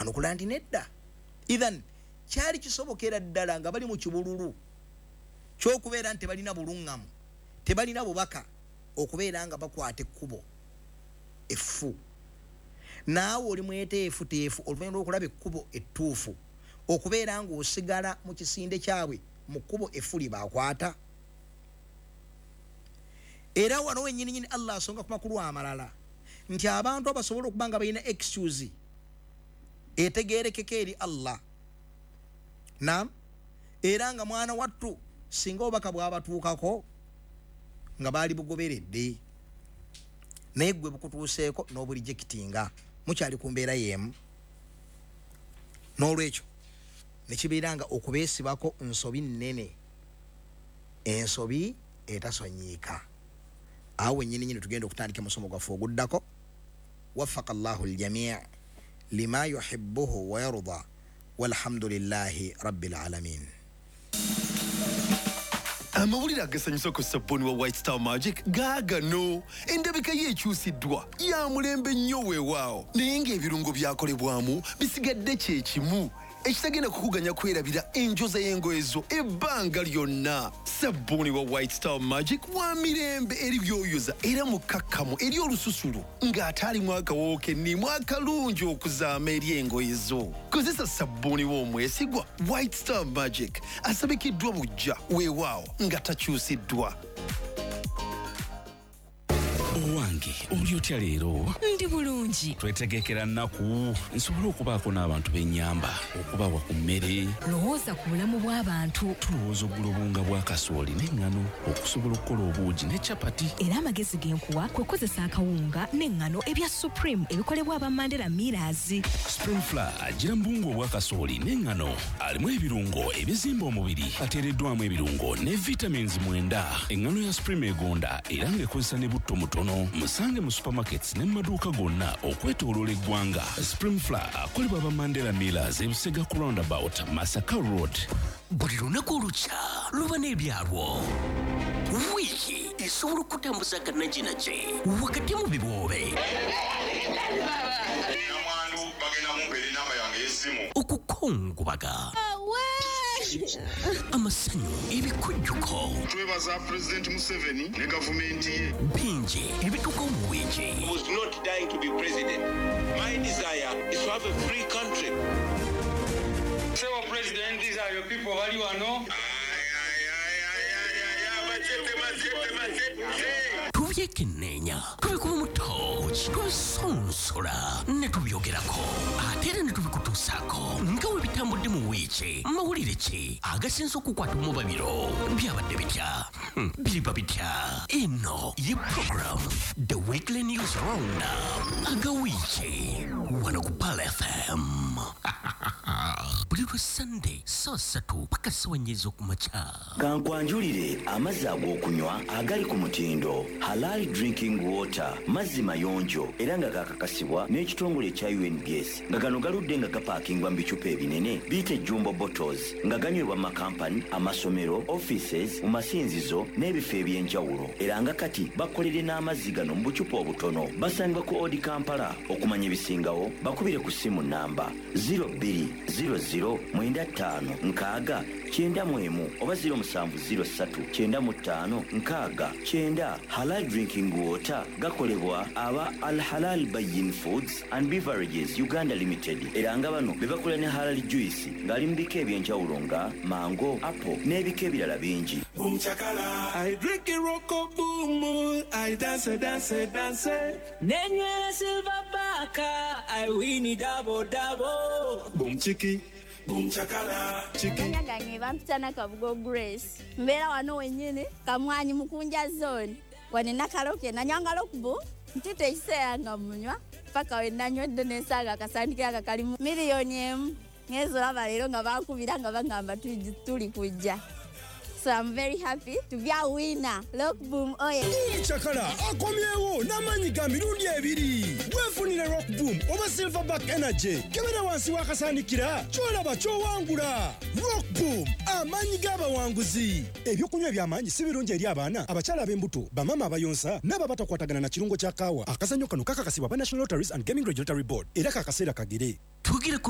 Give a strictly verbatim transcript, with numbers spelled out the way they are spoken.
Anukula nti nedda. Ithan kyali kisobokera ddala nga bali mu kibululu ky'okubeera nti tebalina bulungamu, tebalina bubaka, okubeera nga bakwata ekkubo effu. Naawe oli mweteefuteefu oluvannyuma lw'okulaba ekkubo ettuufu okubeera ng'osigala mu kisinde kyabwe mu kkubo effu lye bakwata. Era wano wennyininyini Allah asonga ku makulu amalala nti abantu abasobola okuba nga balina excuse etegeerekeka eri Allah. Naam, era nga mwana wattu singa obubaka bwabatuukako nga baali bugoberedde, naye gwe bukutuuseeko n'oburejectinga, mukyali ku mbeera y'emu. N'olwekyo ne kibeera nga okubeesibako nsobi nnene, ensobi etasonyiika. Awo wennyininyini tugenda okutandika omusomo gwaffe oguddako. Waffaka Allahu ljamii lima yuhibbuhu wa yarda walhamdulillahi rabbil alamin. Amawulire agasanyusa ku sabbuuni wa White Star Magic gaagano. Endabika ye ekyusiddwa, ya mulembe nnyo weewaawo, naye ng'ebirungo byakolebwamu bisigadde kye kimu ekitagenda kukuganya kwerabira enjoza y'engoye zo ebbanga lyonna. Sabbuuni wa White Star Magic wa mirembe eri byoyoza era mukkakkamu eri olususu ng'ate alimu akawoowo k'enniimu akalungi okuzaama eri engoye zo. Kozesa sabbuuni w'omwesigwa White Star Magic asabikiddwa buggya weewaawo nga takyusiddwa. Owange, oli otya leero? Ndi bulungi. Twetegekera nnaku nsobole okubaako n'abantu b'ennyamba okubawa ku mmere. Lowooza ku bulamu bw'abantu. Tulowooza okugula obuwunga bwa kasooli n'eŋŋano okusobola okukola obuugi ne capati. Era amagezi ge nkuwa kwe kukozesa akawunga n'eŋŋano ebya Supreme ebikolebwa aba Mandela Millers. Supreme Flour agira mu buwunga obwa kasooli n'eŋŋano, alimu ebirungo ebizimba omubiri, ateereddwamu ebirungo ne vitamins mwenda. Eŋŋano ya Supreme egonda era ng'ekozesa ne butto mutono. Musange mu supermarkets ne mu maduuka gonna okwetooloola eggwanga. Supreme Flour akolebwa aba Mandela Millers, Ebusega ku roundabout, Masaka Road. Buli lunaku olukya luba n'ebyalwo. Wiiki esobola okutambuza aganajinagi wakati mu biboobe, Namwandu bagenda mumpeera enamba yange y'essimu. Okukungubaga, amasanyu, ebikujjuko. Twebaza Pulezidenti Museveni ne gavumenti ye. Bingi ebituukawo mu wiiki. Was not dying to be president. My desire is to have a free country. Sebo President, these are your people bali wano. Tubyekenneenya, tubikuba mu tooki, tubisonsola ne tubyogerako, ate era ne tubikutuusaako nga bwe bitambudde mu wiiki. Mawulire ki agasinze okukwata omubabiro? Byabadde bitya? Hmm, biriba bitya? Eno ye program The Weekly News Roundup aga wiiki wano ku Pearl F M buli lwa Sunday saa ssatu paka ssaawa nnya ez'okumakya. Kankwanjulire amazzi ag'okunywa agali ku mutindo, Halal Drinking Water, mazzi mayonjo era nga gakakasibwa n'ekitongole ekya U N B S, nga gano galudde nga gapaakingwa mu bicupa ebinene biyite jumbo bottles, nga ganywebwa mu makampani, amasomero, offices, mu masinzizo n'ebifo eby'enjawulo. Era nga kati bakolere n'amazzi gano mu bucupa obutono. Basangibwa ku Odi Kampala. Okumanya ebisingawo bakubire ku ssimu namba zero bbiri zero zero mwenda ttaano nkaaga kyenda mu emu oba zero musanvu zero ssatu kyenda mu ttaano nkaaga kyenda. Halal Drinking Water gakolebwa aba Al Halal Bayin Foods and Beverages Uganda Limited, era nga bano be bakola ne halal juice ng'ali mu bika eby'enjawulo nga mango, apple n'ebika ebirala bingi. I drink it roko boom, I dance, dance, dance. Nenywera Silver Baka, I win it double double. Boom chiki, boom chakala, chiki. Amanya gange bampita Nakabugo Grace. Mbeera wano wennyini Kamwanyi Mukunja Zone. Wano Nakaloke nanywanga Rockbull ntita ekiseera nga munywa paka we nanywedde nensanga akasandikira aka kalimu miliyoni emu. Ngenze olaba leero nga bankubira nga bagamba tuli tuli kujja. So I'm very happy to be a winner. Rockboom oye. Chakala akomyewo n'amaanyi ga mirundi ebiri. Weefunire Rock Boom oba Silverback Energy. Kebera wansi w'akasaanikira, ky'olaba ky'owangula. Rock Boom, amaanyi g'abawanguzi. Ebyokunywa eby'amaanyi si birungi eri abaana, abakyala ab'embuto, bamaama abayonsa n'abo abatakwatagana na kirungo kya kaawa. Akazannyo kano kakakasibwa aba National Lotteries and Gaming Regulatory Board, era kakaseera kagere. Twogere ku